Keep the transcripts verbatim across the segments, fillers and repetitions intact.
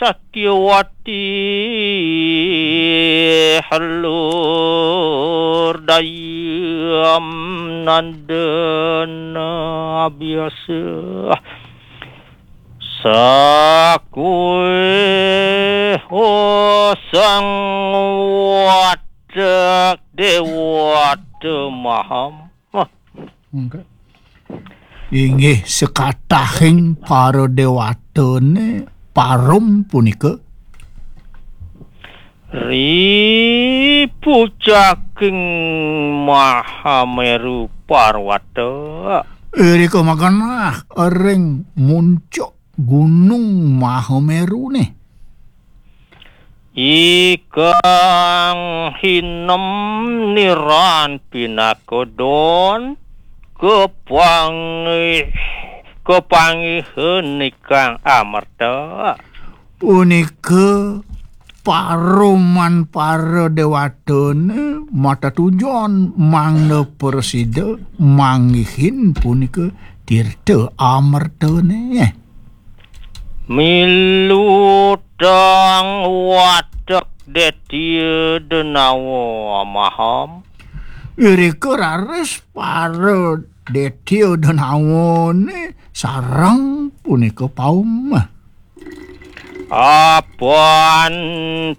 Satyawati, halur dayam nandana biasa. Sakuih sang watek dewata maham. Wah. Inggih, sekatahing para dewatane parum punika. Ri pucaking Mahameru Parwata. Irika magenah ring muncuk Gunung Mahamerune. Ikang hinem niran pinaka don kepangih, kepanggihan ikang amerta. Punika paruman para dewatane mata tujon mangda prasida manggihin punika tirta amertane. Milutang watek detia denawa maham. Irika raris para detia denawane sareng punika paum. Apan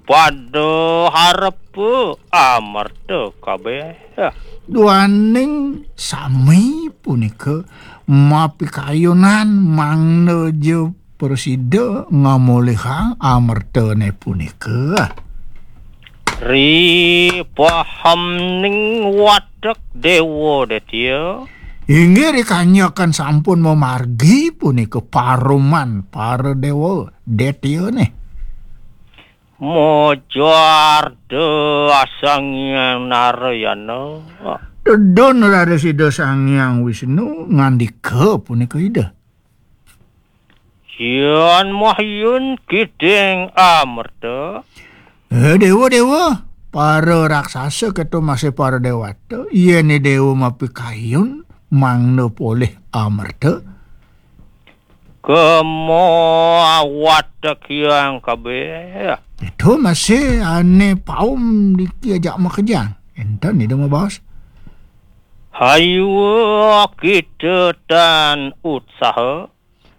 pada harepa amerta kabeh. Duaning sami punika mapikayunan mangda ja prasida ngamolihang amertane punika. Ri pahamning watek dewa detia. Inggih, ri kanyakan sampun mamargi punika paruman para dewa detiane. Mojar da Sang Hyang Narayana. Tedun raris Ida Sang Hyang Wisnu ngandika punika Ida. Yan mahyun kiding amerta. Eh, dewa, dewa, para raksasa keto masih para dewata, yen dewa mapikayun mangda polih amerta. Kemo watek hyang kabeh. Itu masih ane paum diki ajak makejang. Enten Ida mabaos. Hayu kita tan utsaha.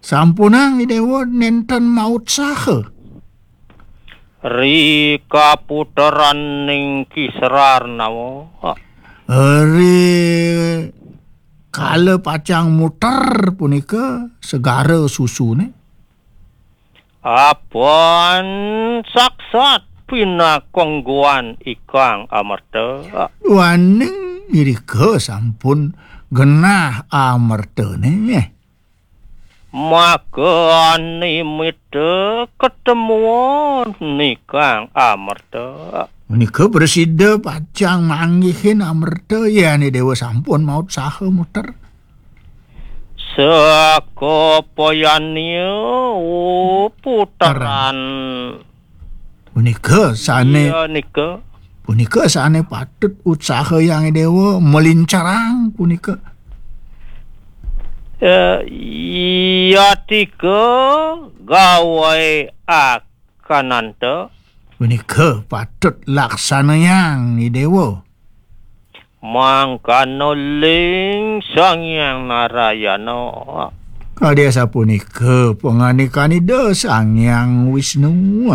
Sampunang Ida Dewa nenten mautsaha. Ri kaputeraning Kisrarnawa. Ri kala pacang muter punika segara susune. Apan saksat pinakongguan ikang amerta. Duaning irika sampun genah amertane. Maka nimita ketemuan nikang amerta. Menika prasida pacang manggihin amerta, yane dewa sampun mautsaha muter. Sakapayanya puteran. Punika sane iya, nika. Punika sane patut utsaha Hyang Dewa melincarang punika. Eh, yatika gawai akananta. Punika patut laksanayang Dewa. Mangkana ling Sang Hyang Narayana. Kadi asapunika pangandikan Ida Sang Hyang Wisnu.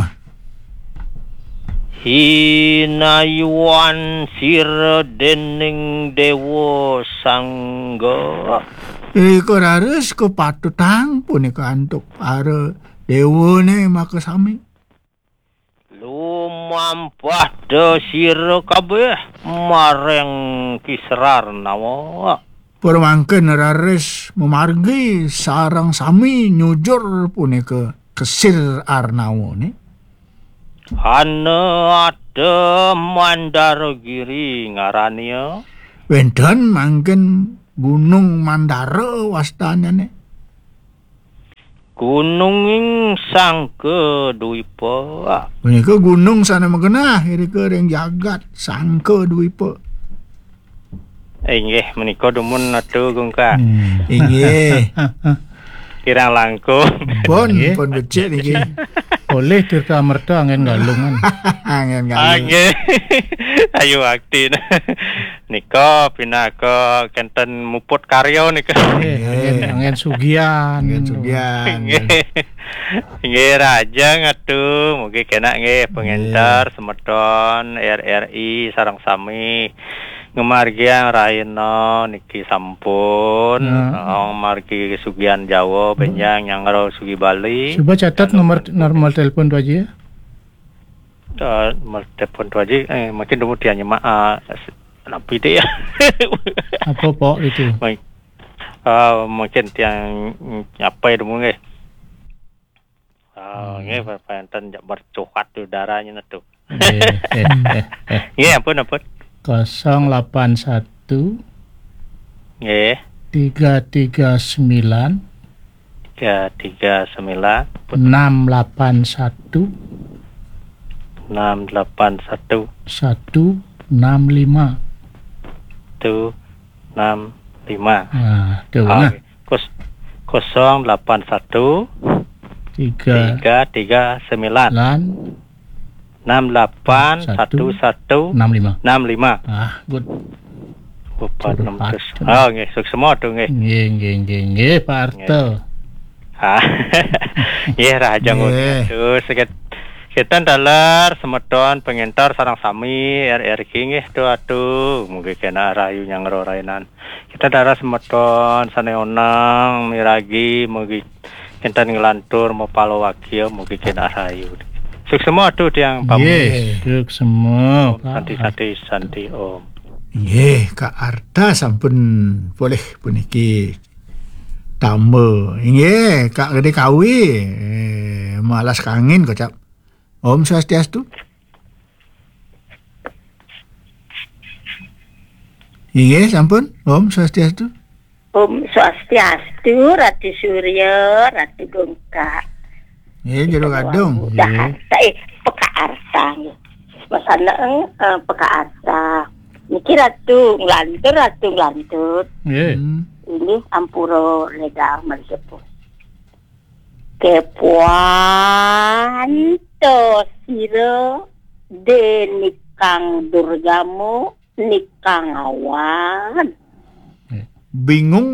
Hinayuan sira dening Dewa Sangga. Ika raris kapatutang punika antuk para dewane makasami. Lumampah da sira kabeh maring Kisrarnawa. Pramangkin raris mamargi sareng sami nyujur punika ka Sir Arnawane. Ana ada Mandara Giri ngarania. Wenten mangkin Gunung Mandara wastanane. Gununging Sangka Dwipa. Punika gunung sane magenah irika ring jagat Sangka Dwipa. Inggih, menika dumun atu, Gungkak. Hmm. Inggih. Kirang langkung. Pun, nggih, pun becik niki. Olih Tirta Amerta Angin Galungan. Angin Galungan. Nggih. Ayu aktin. Nika pinaka kenten muput karya nika. Nggih, nggih. Angin, Angin Sugian. Angin Sugian. Nggih. Nggih, rahajeng atuh. Mugi kenak nggih pengenter, nggih, semeton R R I sareng sami ngamargiang rahina niki sampun. Nah. Oh, margi Sugian Jawa, benjang nyanggra Sugi Bali. Coba catat nomor, nomor telepon Tu Aji ya. Eh, nomor telepon Tu Aji, eh, mungkin dulu dia nyemak, eh, s-, napi deh ya. Apa, Pok, itu? Mung-, eh, mungkin tiang, mm, apa ya dulu nggih? Ah, hmm, nggih, pa-, panten jak bercuhat udaranya netu. Nggih, eh, eh, eh. Nggih, ampun, ampun. Kosong lapan satu, nggih, tiga tiga sembilan, tiga tiga sembilan, ampun, enam lapan satu, enam lapan satu, satu enam lima. Satu enam lima. Nah, tuh, ah, nah. Kos-, kosong lapan satu, tiga, tiga tiga sembilan, sembilan, enam lapan satu satu, enam lima, enam lima. Ah, good. Empat enam ratus. Sudah. Oh, nggih, suksma tu nggih. Nggih, nggih, nggih, nggih, Pak Arta. Nggih. Ah. Nggih, rahajeng, nggih, uri atuh. Sakit-, kita dalar semeton pengentar sareng sami R R Q nggih tu atuh. Mugi kena rahayu nyanggra rahina. Kita dalar semeton sane oneng miragi, mugi kinten nglantur mapalawakya, mugi kena rahayu. Suksma atuh tiang pamit. Nggih, suksma, Pak. Santi, santi, santi, Om. Nggih, Kak Arta sampun polih puniki tamba. Nggih, Kak Gede Kawi, eh, malas kangin kocap. Om Swastiastu. Inggih, sampun. Om Swastiastu. Om Swastiastu, Ratu Surya, Ratu Gungkak. Nggih, Jero Gadung. Nggih. Jakarta, eh, Pekaarta, nggih. Masana, eh, Pekaarta. Niki Ratu Nglantur, Ratu Nglantur. Nggih. Hmm. Ini ampura ledang mensepuh. Kepuan to sira denikang durgamu nikang awan. Bingung,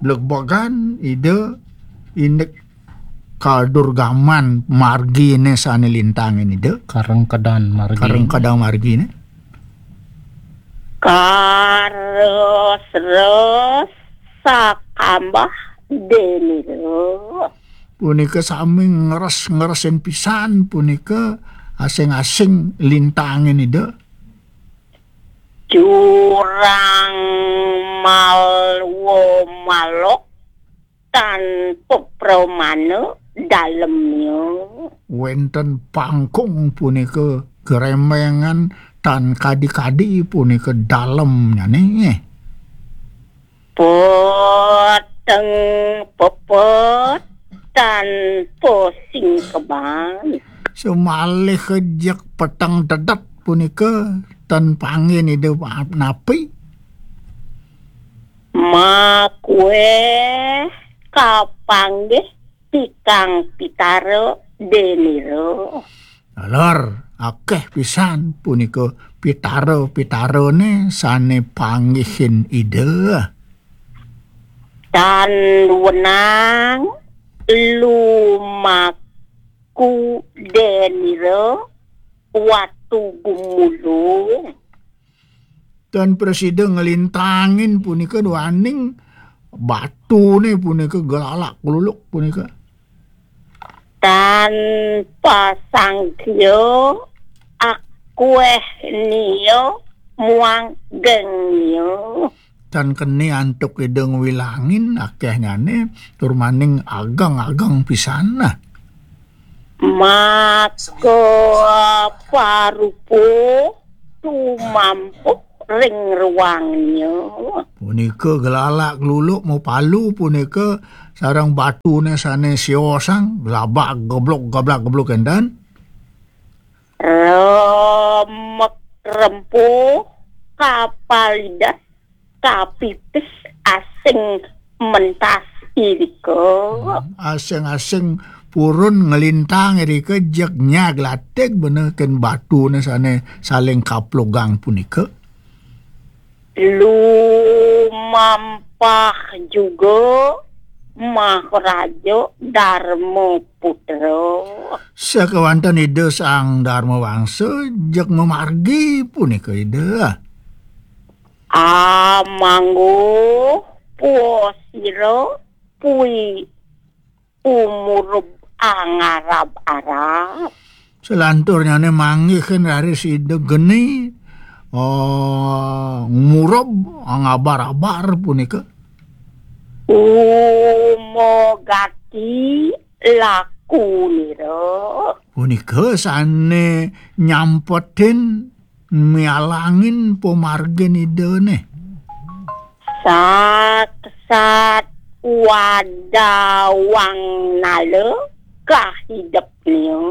blegbogan, Ida, indik kadurgaman margine sane lintangin Ida. Karengkedan margine. Karengkedan margine. Kares-res sakambah denira. Punika sami ngeres-ngeresin pisan punika asing-asing lintangin Ida. Jurang malwa malok tanpa pramana dalemnya. Wenten pangkung punika, geremengan tan kadi-kadi punika dalemnyane. Peteng pepet tanpa singkeban. Semalih kejek peteng dedet punika ten panggih Ida napi. Makueh kapanggih tikang pitara denira. Taler, akeh pisan punika pitara-pitarane sane panggihin Ida. Tan wenang lumaku denira watu gumulung. Tan prasida nglintangin punika duaning batune punika gelalak gluluk punika. Tan pasangkya akweh nia muang gengnya. Tan keni antuk Ida ngwilangin akehnyane tur maning ageng-ageng pisan nah. Maka parupa tumampuh ring ruangnya. Punika gelalak gluluk mapalu punika sareng batune sane siosang glabak geblok gablak geblok enten. Remek rempuh kapalidas kapipis asing mentas irika. Asing-asing purun nglintang irika jeg nyag latig bener ken batune sane saling kaplugang punika. Lumampah juga Maharaja Darma Putra. Sakewanten Ida Sang Darma Wangsa jeg mamargi punika Ida. Amangguh puasira pui umurub angarab-arab. Selanturnyane manggihin raris Ida geni, eh, ngurub angabar-abar punika. Umogati lakunira. Punika sane nyampetin mialangin pamargin Idane. Sat-sat wadawang nala kahidepnya.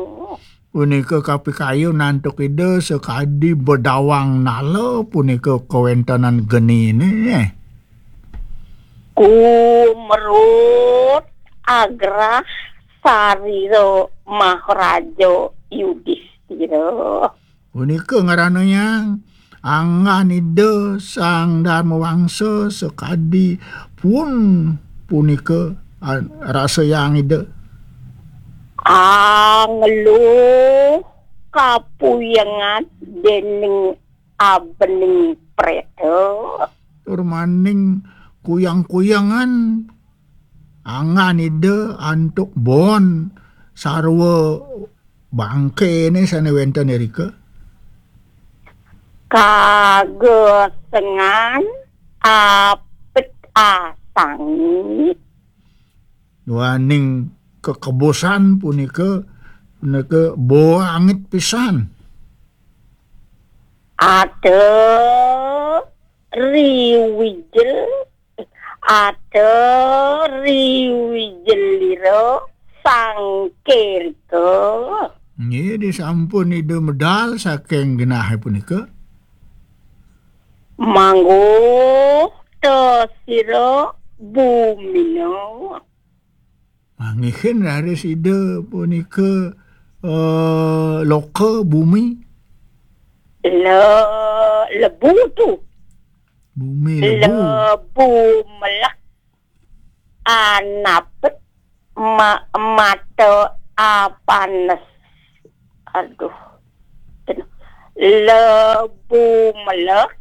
Punika kapikayun antuk Ida sakadi bedawang nala punika kawentenan genine. Kumrut agrah sarira Maharaja Yudistira. Punika ngaranayang anggan Ida Sang Darma Wangsa sakadi pun punika, ah, rasayang Ida. Angluh kapuyengan dening abening preta. Tur maning kuyang-kuyangan anggan Ida antuk bon sarwa bangkene sane wenten irika. Kagesengan apit asangit. Duaning kekebusan punika, punika bangit pisan. Ada riwijil, ada riwijelira sangkerika. Nggih, disampun Ida medal saking genahe punika. Mangguh tesira bumina. Manggihin raris Ida punika, eh, loka bumi. Le-, lebu tu. Bumi lebu. Lebu melek anapet ma-, mata apanes. Aduh. Lebu melek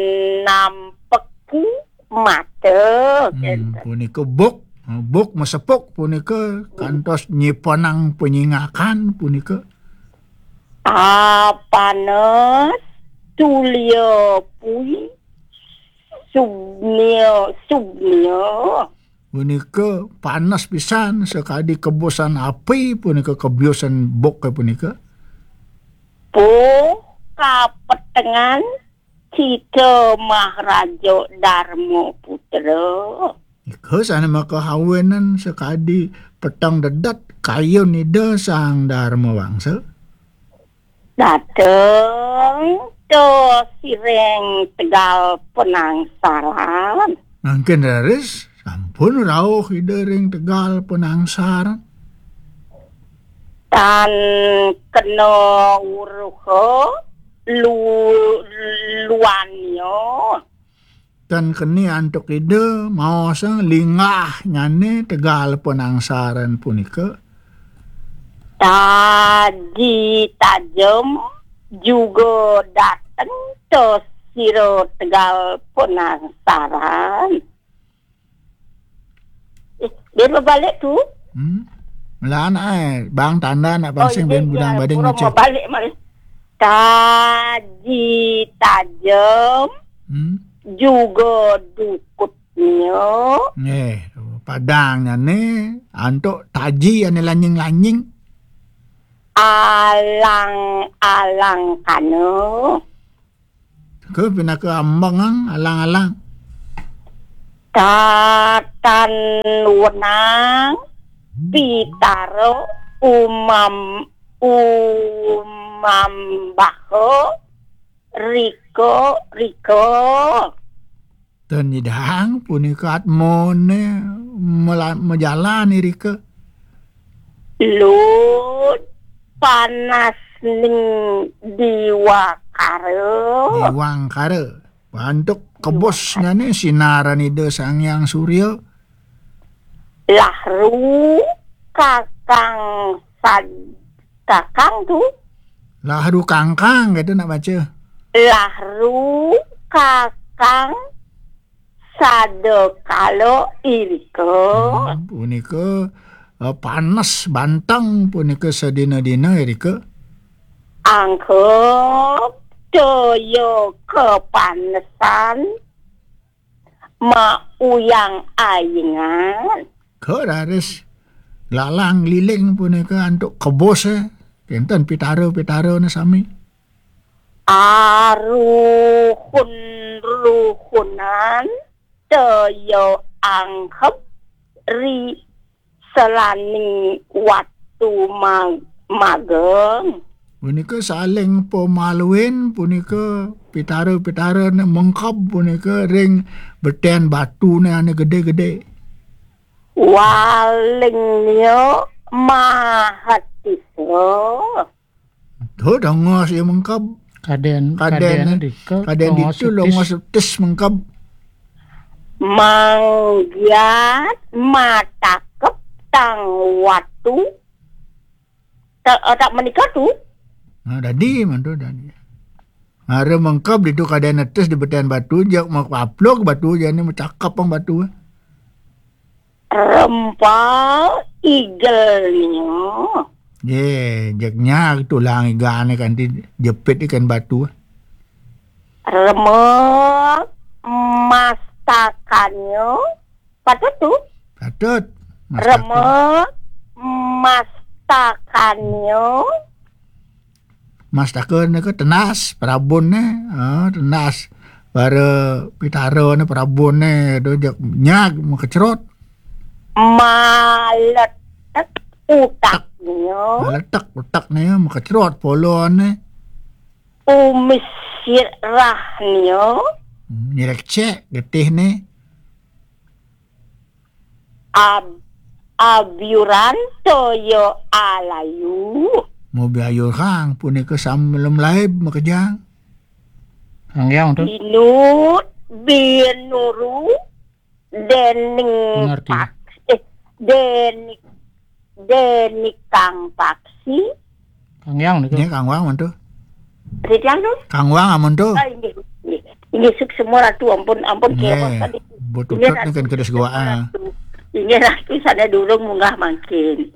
anampeku mata. Hmm, punika buk, buk masepuk punika kantos nyipenang panyingakan punika. Apanes tulia pui subnia, subnia. Punika panes pisan sakadi kebusan api punika, kebiusan buk punika. Puh kapetengan kita Maharaja Darma Putra. Nika sane makahawinan sakadi peteng dedet kayun Ida Sang Darma Wangsa. Dateng to sireng tegal penangsaran. Mangkin raris sampun rauh Ida ring tegal penangsaran. Tan kena uruha lu-, luannya. Tan keni antuk Ida maosang linggahnyane tegal penangsaran punika. Taji tajem juga dateng to sira tegal penangsaran. Eh, dia berbalik tu. Hmm. Melaan ai, bang tanda nak pansing ben budang bading ngecek. Balik mari. Taji tajem. Hmm. Juga dukutnya. Nggih, padangnyane antuk taji ane lanying-lanying. Alang-alang kana. Ke pinaka ambengang alang-alang. Tatan wenang pitara umam-, umambaha rika-rika. Ten nyidang punika atmone mela-, majalan irika. Lut panas ning diwakara. Diwangkara. Antuk kebosnyane sinaran Ida Sang Hyang Surya. Lahru kakang sad-, kakang tu. Lahru kangkang, gitu nak baca. Lahru kakang sadakala irika. Hmm, punika, eh, panas banteng punika sadina-dina irika. Angkep toya kapanesan mauyang ayingan. Ka raris lalang liling punika antuk kebose, kenten pitara-pitarane sami. Aruhun-ruhunan toya angkep ri selaning watu mag-, mageng. Punika saling pamaluin, punika pitara-pitarane mengkeb punika ring beten batune ane gede-gede. Walingnya mahatisa. Tuh, dongos ya mengkeb. Kaden, kaden, kaden dika, kaden dongos ditu, dongos tis mengkeb. Manggiat matakep tang watu. Tak, eh, tak menika tu. Nah, dadi, mantu dadi. Mara mengkeb ditu kaden netes di beten batu, jak makaplok batu, jane macakep ang batu. Rempal igelnya. Ye, jeknya tulang igane kanti jepit ikan batu. Remek mastakannya. Patut tu. Patut. Mastaka. Remek mastakannya. Mastaka nika tenas, prabunne, ha, tenas. Para pitarane, prabunne, tu jak nyag, makecrot. Maletek utaknya. Maletek utaknya, makecrot polone. Umis sirahnya. Hmm, nyerekcek getihne. Ab-, abyuran toya alayu. Mobi ayur kang, punika samlem laib makejang. Kang Hyang tu. Binut, binuru, dening Mengerti. Paksi, eh, denik, denik kang paksi. Kang Hyang niku. Nggih, Kang Wang mantu. Ridwan tu? Kang Wang amun tu. Oh, inggih, inggih. Inggih, suksema Ratu, ampun, ampun, nggih, kewan tadi. Inggih, Ratu, kedes gua, ah. Ratu. Inggih, Ratu, sana durung munggah mangkin.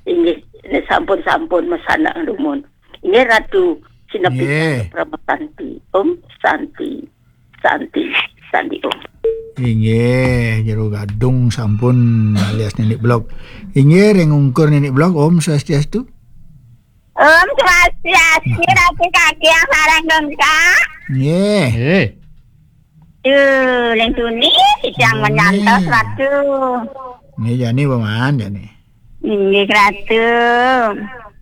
Inggih, ini sampun, sampun, mesana dumun. Inggih, Ratu, sinepi, nggih. Parama Santi. Om Santi, Santi, Santi, Om. Inggih, Jero Gadung sampun alias Nenek Blok. Inggih, ring ungkur Nenek Blok, Om Swastiastu. Om Swastiastu, Ratu Kakang sareng Gungkak. Nggih. Nggih. Duh, ring tuni, titiang, nggih, menyantos, Ratu. Nggih, jani paman, jani. Inggih, Ratu.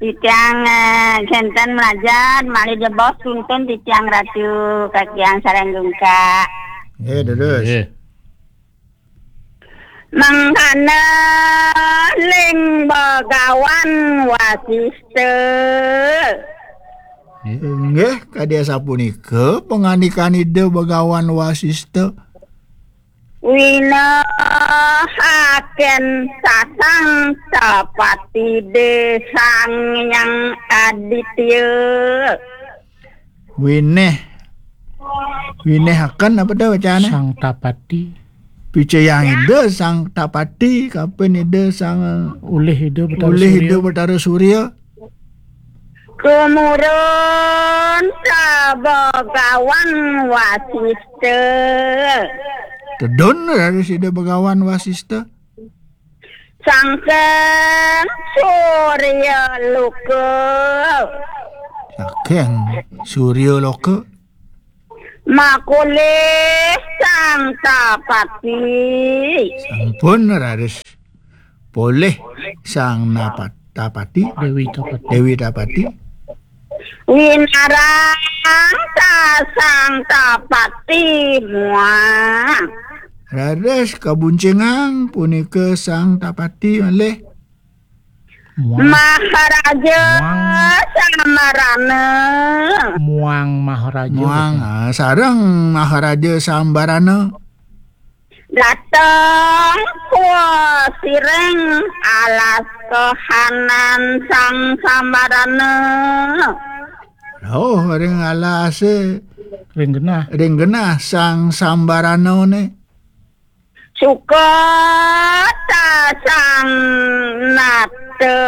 Titiang, eh, kenten mlajah, malih jebos tuntun titiang, Ratu Kakang sareng Gungkak. Nggih, durus. Nggih. Mangkana ling Bagawan Wasista. Inggih, kadi asapunika pangandikan Ida Bagawan Wasista. Winahaken sasang tapati de Sang Hyang Aditya. Winéh. Winéhaken apa to wacane? Sang Tapati. Picayang Ida Sang Tapati, kapan Ida Sang, ulih Ida Betara, ulih Ida Surya. Betara Surya. Tumurun ka Bagawan Wasista. Tedun raris Ida Bagawan Wasista. Sangking Surya Loka. Sangking Surya Loka. Makulih Sang Tapati. Sampun raris polih Sang Napat-, Tapati. Dewi Tapati. Dewi Tapati. Winarang ta Sang Tapati muang. Raris kabuncingang punika Sang Tapati malih. Muang. Maharaja Muang. Sambarana. Muang Maharaja. Muang, ah, sareng Maharaja Sambarana. Dateng kuasiring alas kahanan Sang Sambarana. Oh, ring alase. Ring genah. Ring genah Sang Sambarana ne. Suka ta Sang Nata.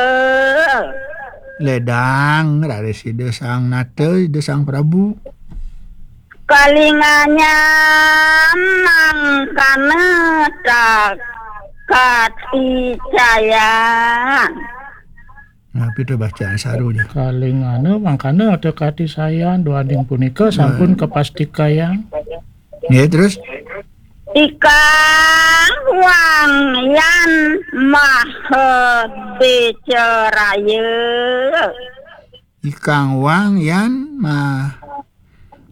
Ledang raris Ida Sang Nata, Ida Sang Prabu. Kalinganyam mangkana ta katicayan. Napi to bacaan saru nih? Kalingana mangkana ta katicayan, duaning punika sampun Nah. Kapastikayang. Ya, terus? Ikang wang yan maha beceraya. Ikang wang yan mah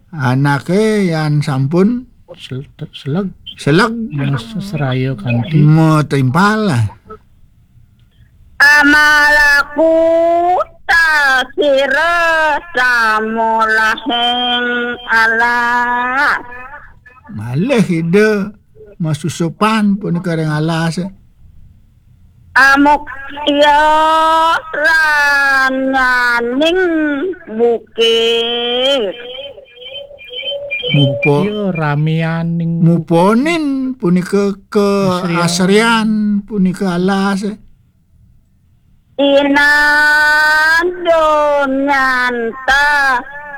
anake yan sampun Sel-, seleg. Seleg. Mas seraya kanti. Matimpal lah. Amalaku ta sira samolahing alas. Malih Ida masusupan punika ring alas. Amuktya ranyaning bukit. Mupo- Iya, ramianing muponin punika ke Asrian. Asrian punika alas. Inado nyanta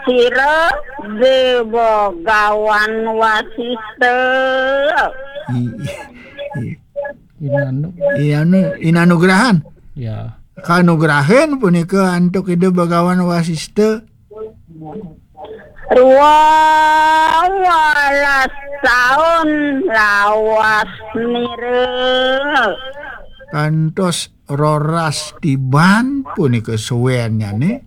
sira Dewa Gawan Wasista. I-, i-, Inanu. Ianu-, inanugrahan. Ya. Kanugrahan punika antuk Ida Bagawan Wasista. Rwa walas taun lawas nira. Kantos roras tiban punika suwennyane.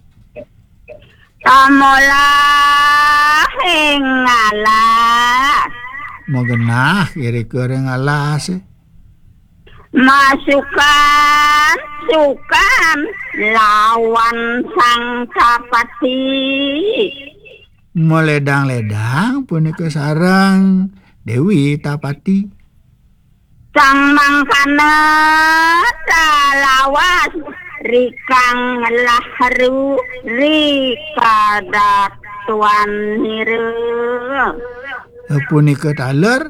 Amolah ing alas. Magenah irika ring alas. Masukan sukan lawan Sang Tapati. Maledang-ledang punika sareng Dewi Tapati. Sang mangkana talawas rikang lahru rikadatuan nira. Punika taler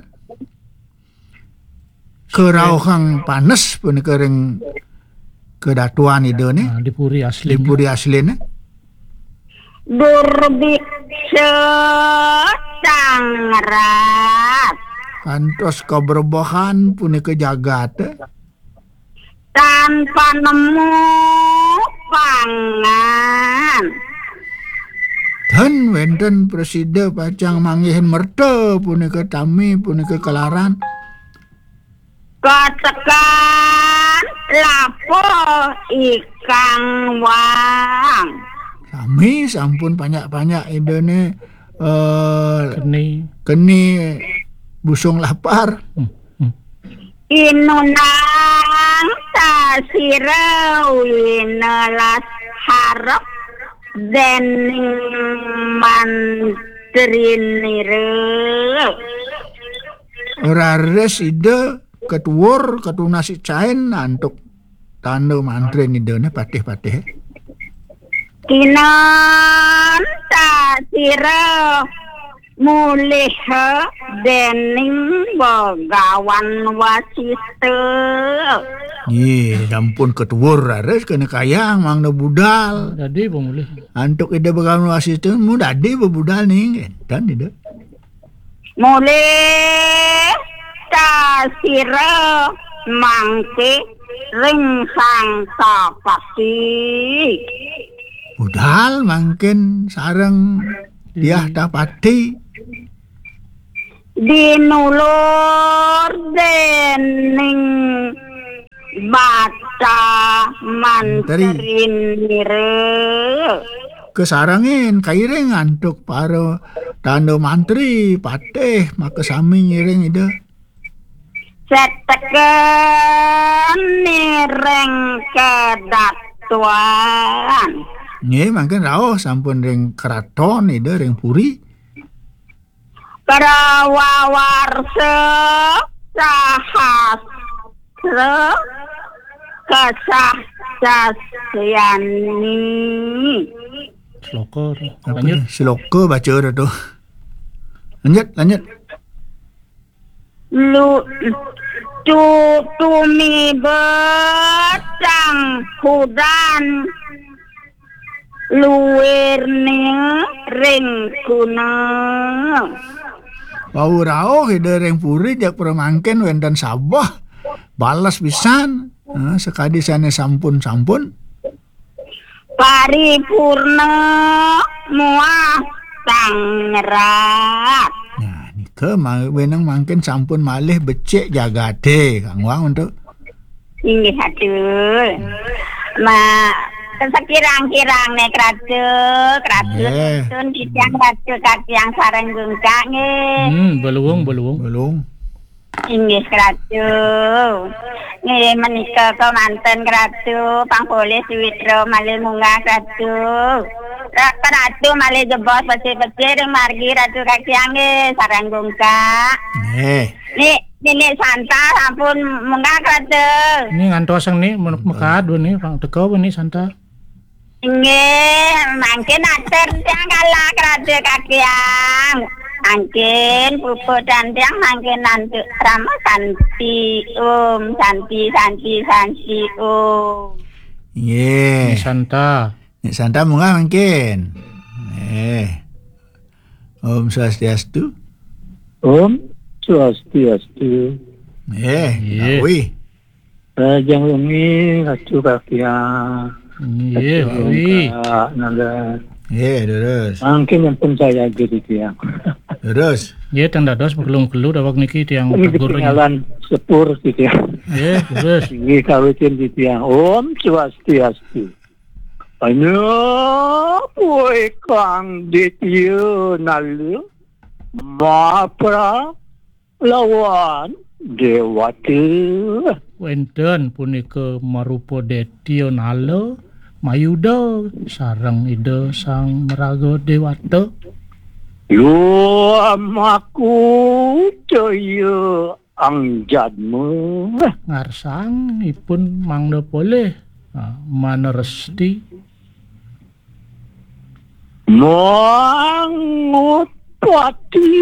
kerauhang panes punika ring kedatuan Ida ne. Ah, di puri asli. Di puri asline. Durbiksa tangrat. Kantos kabrebehan punika jagat. Tan panemu pangan. Tan wenten prasida pacang manggihin merta punika tami punika kalaran. Katekan lapo ikang wang. Sami sampun panyak-panyak Ida ne, eh, keni. Keni busung lapar. Hmm, hmm. Inunang tasira winalas harep dening mantrinira. Raris Ida ketuwur, ketunas icain antuk tanda mantrin Ida ne patih-patih. Kinantasira mulih dening Begawan Wasista. Nggih, sampun ketuwur raris kena kayang mangda budal. Dadi pemulih. Antuk Ida Begawan Wasista, mu dadi bebudal ning, enten Ida. Mulih tasira mangke ring Sang Tapati. Budal mangkin sareng Diah Tapati. Dinulur dening Bata Mantri. Mantrinira. kasarengin, kairing antuk para tanda mantri, patih, makasami ngiring Ida. Seteken ring kedatuan. Nggih, mangkin rauh sampun ring kraton Ida ring puri. Prawawarsa sahasra kesah sasyani. Sloka. Apa lanjut. Nih? Sloka baca dah tu. Lanjut, lanjut. Lu tu tumiba tangkudan luirning ring gunung. Wau rauh Ida ring puri jak pramangkin wénten sabeh. Bales pisan. Nah, sakadi sané sampun-sampun. Paripurna muah tangrat. Nah, nika ma-, wenang mangkin sampun malih becik jagaté, Kang Wang, untuk Inggih, aduh. Ma, sekirang-kirang nih, Kratu, Kratu, nggih. Tun titiang Kratu, Katiang sareng Gungkak, nggih. Hmm, beluung, beluung. Beluung. Inggih, Kratu. Nggih, menika kemanten, Kratu, pang polih duwitra malih munggah, Kratu. Ra-, Kratu malih jebos becik-becik ring margi, Kratu, Katiang, nggih, sareng Gungkak. Nggih. Nih, Nini Santa sampun munggah, Kratu. Ini ngantos nih, menuk mekad nih, Pang teka nih Santa. Inggih, mangkin atur tiang kala, Kratu Katiang. Mangkin puput dan tiang mangkin nanti rama santi, Om, santi, santi, santi, Om. Inggih. Ini Santa. Ini Santa munggah mangkin. Eh. Om Swastiastu. Om Swastiastu. Eh, iya. Ngawi. Rahajeng wengi, Ratu Katiang. Iya, Ratu Wi. Kak Nanda. Iya, terus. Mangkin yang pun saya gitu, Tiang. Terus. Iya, tang dados bekelung-kelu daweg niki tiang. Ini tegur, ketinggalan sepur, gitu ya. Iya, terus. Ini kawitin di Tiang. Om Swastiastu. Hanya puikang Ditya Nala, mapra lawan Dewata. Wénten punika marupa Detya Nala, mayuda sareng Ida Sang Maraga Dewata. Lumaku Jaya Angjadma. Ngarsang ipun mangda polih, ah, maneresti. Mangutpati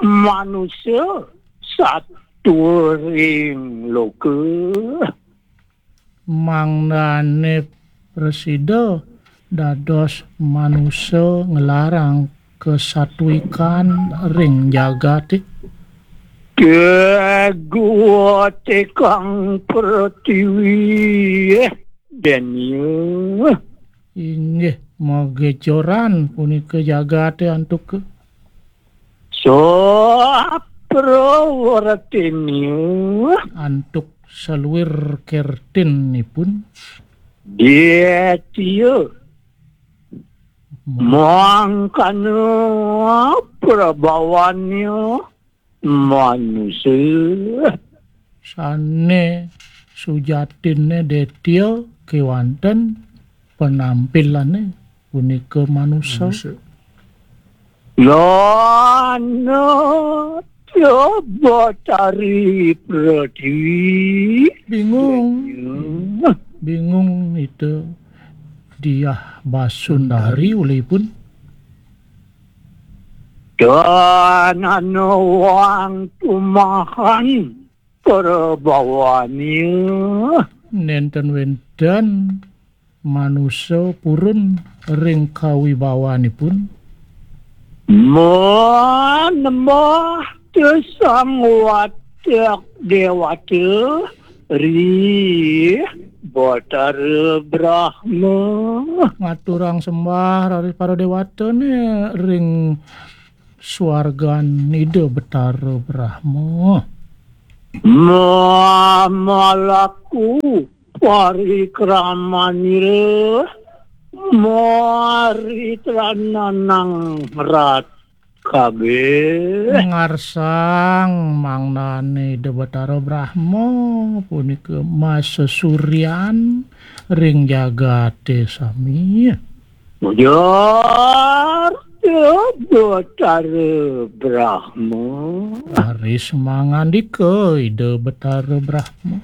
manusa saturing loka. Mangdané prasida dados manusa nglarang kasatwikan ring jagaté. Tegutikang pratiwi, eh, Denya. Inggih, magejoran punika jagaté antuk Saprawartinya. Antuk saluir kertinipun. Detya. Mangkana prabawannya manusa. Sané sujatiné Detya kéwanten penampilané punika manusa. Manusa. Lana Batari Pratiwi. Bingung. Denya. Bingung Ida Diah Basundari ulihipun. Danana wang tumahan. Prabawannya. Nénten wénten manusa purun ring kawibawanipun. Manembah Sang Watak Dewata ri Batara Brahma. Ngaturang sembah raris para dewatané ring swargan Ida Betara Brahma. Mamalaku parikramanira Mari trananang rat kabeh. Ngarsang mangnane Ida Betara Brahma punika masesuryan ring jagate sami. Ujar Ida Betara Brahma. Raris mangandika Ida Betara Brahma.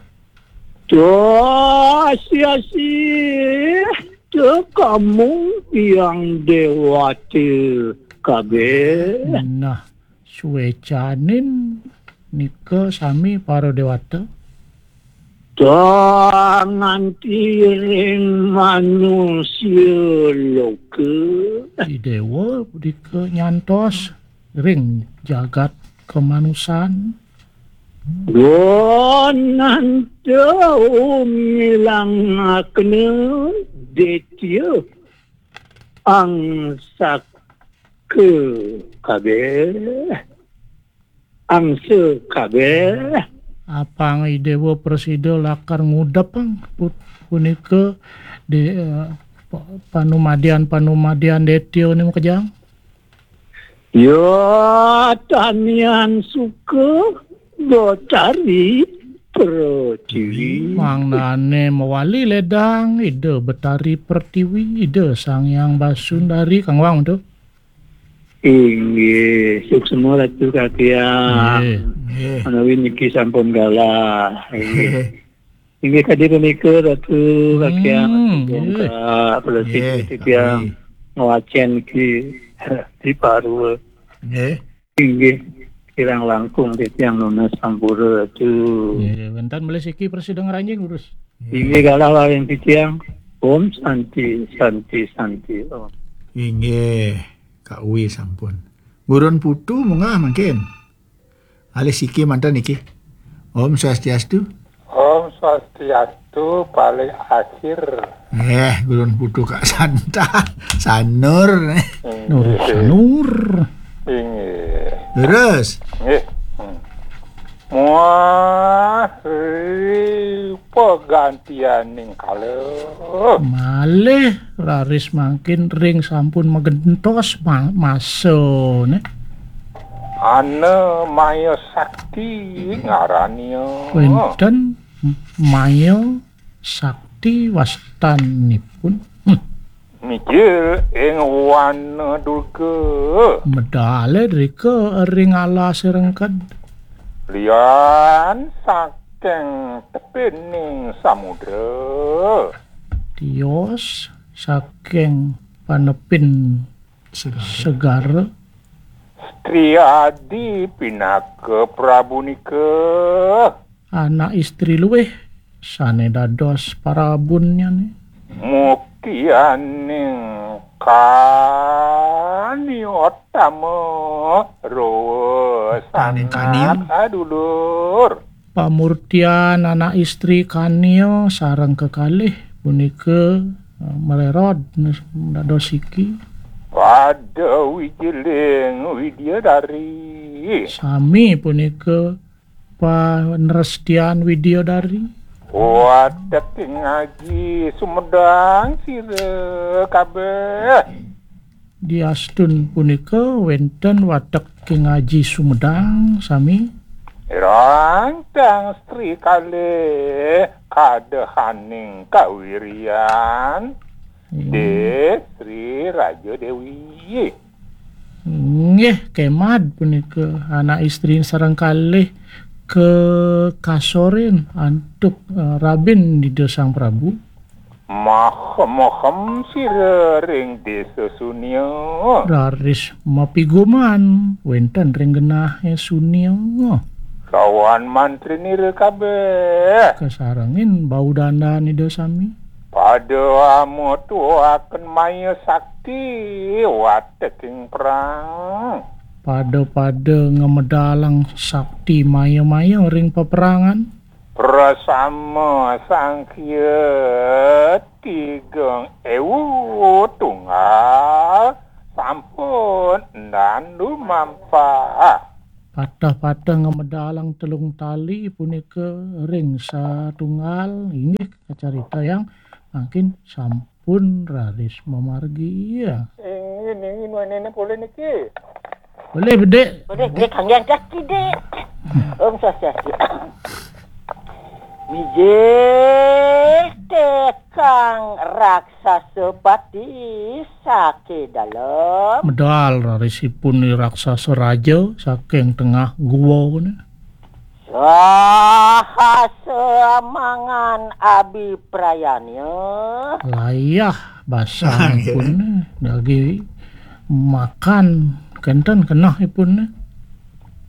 Tuh, asi-asi, tuh kamu yang dewata kabeh. Nah, suecanin nika sami para dewata. Tuh nganti ring manusia loka. Idewa dika nyantos ring jagat kamanusan. Gonanta umilangakna detya angsaka kabeh. Angsa kabeh. Apang Idewa prasida lakar ngudepang put-, punika de-, eh, pa-, panumadian-panumadian detya ni makejang. Ya tanian suka Betari Pertiwi. Mangnane mawali ledang Ida Betari Pertiwi, Ida Sang Hyang Basundari, kangwang tu. Inggih, suksma Ratu Kakiang. Inggih. Inggih. Manawi niki sampun galah. Inggih. Inggih, kadi punika, Ratu Kakiang, hmm, Ratu Bongkak, Ratu Nggih, titiang kami. Ngwacen ki di parwa. Nggih. Inggih, kirang langkung titiang nunas sampura, Ratu. Nggih, wenten malih siki prasida ngranjing, Durus. Inggih, galah waring titiang. Om Santi, Santi, Santi, Om. Inggih, Kak Uwi sampun. Gurun Putu munggah mangkin. Alih siki manten niki. Om Swastiastu. Om Swastiastu, paling akhir. Eh, Gurun Putu Kak Santa. Sanur. Inggih. Nur Sanur. Inggih. Terus. Nggih. Hmm. Muah ri pegantianing kala. Malih raris mangkin ring sampun magentos ma-, masa, ne. Ana maya sakti ngarania. Wenten maya sakti wastanipun. Hmm. Mijil ing wana Durga. Medale drika ring alase rengked. Lian saking tepining samudra. Tios saking panepin segara. Segara. Stri adi pinaka prabu nika. Anak istri luwih sane dados parabunnyane. Mukianing kaniotama rawa. Kaning kaniu. Sangat adulur. Pamurtian anak istri kania sareng kekalih punika, eh, marerod dados siki. Pada wijiling widyadari. Sami punika panrestian widyadari. Wateking aji sumedang sira kabeh. Diastun punika wenten wateking aji sumedang sami. Rantang stri kalih kadehaning kawirian. Hmm. Dih Sri Raja Dewi. Nggih, kemad punika anak istri sareng kalih kekasorin antuk, eh, rabin Ida Sang Prabu. Mahem-mahem sira ring desa Sunia. Raris mapiguman wenten ring genahe Sunia. Lawan mantrinira kabeh. Kasarengin bau dandan Ida sami. Pada amutuaken maya sakti wateking perang. Pada-pada ngamedalang sakti maya-maya ring peperangan. Prasama Sangkhya tigang ewu tunggal sampun endan dumampah. Patah-patah ngamedalang telung tali punika ring satunggal, inggih kacaritayang mangkin sampun pun raris mamargi. Ingin, ingin, wanene polih niki. Polih, Bedik. Polih, Bedik, kangge angkat kidik. Om Swastiastu. Mijil tekang raksasa pati sake dalem. Medal raris ipun raksasa raja saking tengah gua ne. Saha samangan abiprayanya. Layah basang ipun ne, dagi makan kenten keneh ipun ne.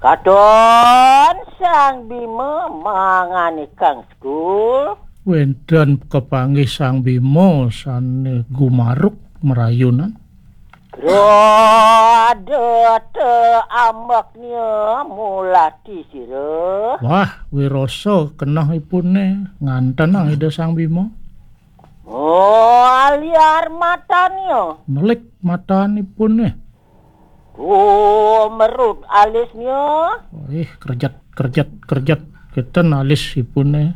Katon Sang Bima mangan ikang sekul. Wenten kapanggih Sang Bima sane gumaruk merayunan. Rada te ambeknya mulati sira. Wah, wirasa keneh ipun ne ngantenang Ida Sang Bima. Oh, liar matanya. Nelik matan ipun ne. Tumerut alisnya. Ih, kerjet, kerjet, kerjet. Keten alis ipun ne.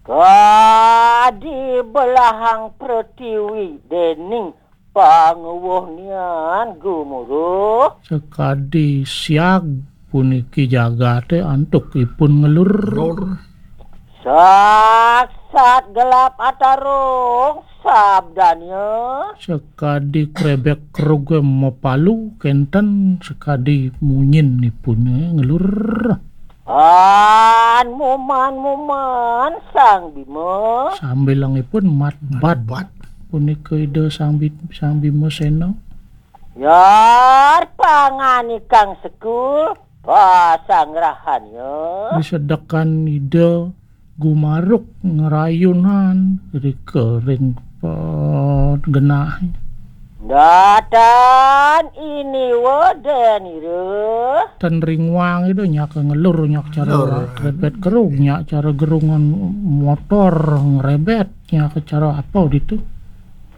Kadi belahang pretiwi dening panguwuh nian gumuruh. Sekadi siag puniki jagate antuk ipun ngelur. Lur. Saksat gelap atarung sabdanya. Sekadi krebek keruge mapalu kenten sekadi munyin ipune ngelur. An muman-muman Sang Bima. Sambilangipun mat bat. Bat. Punika Ida Sang Bi-, Sang Bima Sena. Yar panganikang sekul pasanggrahannya. Disedekan Ida gumaruk ngerayunan rika ring genah. Datan ini wedenira. Ten ringwang Ida nyak ngelur nyak cara Lur. Rebet kerung nyak cara gerungan motor ngerebet nyak cara apa gitu.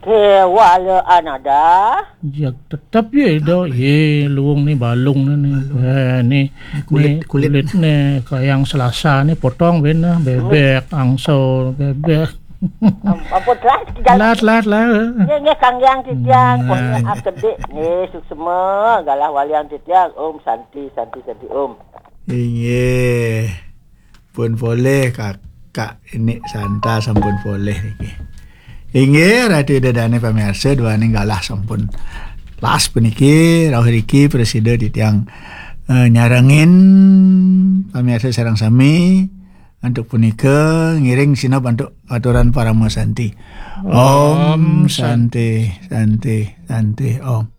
Kewala anada. Ya tetep ya Ida. Ye luung ni balung ni ni. Balung. Eh, ni kulit, ni kulit. Kulit ni kayang selasa ni potong bena bebek angso bebek. Ampun lah. Lat lat lah. Nggih nggih kanggiang titiang. Nah. Pokoknya akedik nggih suksema galah waliang titiang. Om Santi Santi Santi Om. Inggih. Pun polih Kakak ini Santa sampun polih niki. Inggih Ratu Ida Dane pamirsa duaning galah sampun las puniki rauh riki prasida titiang eh, nyarengin pamirsa sareng sami antuk punika ngiring sineb antuk aturan parama santi. Om Santi Santi Santi Om.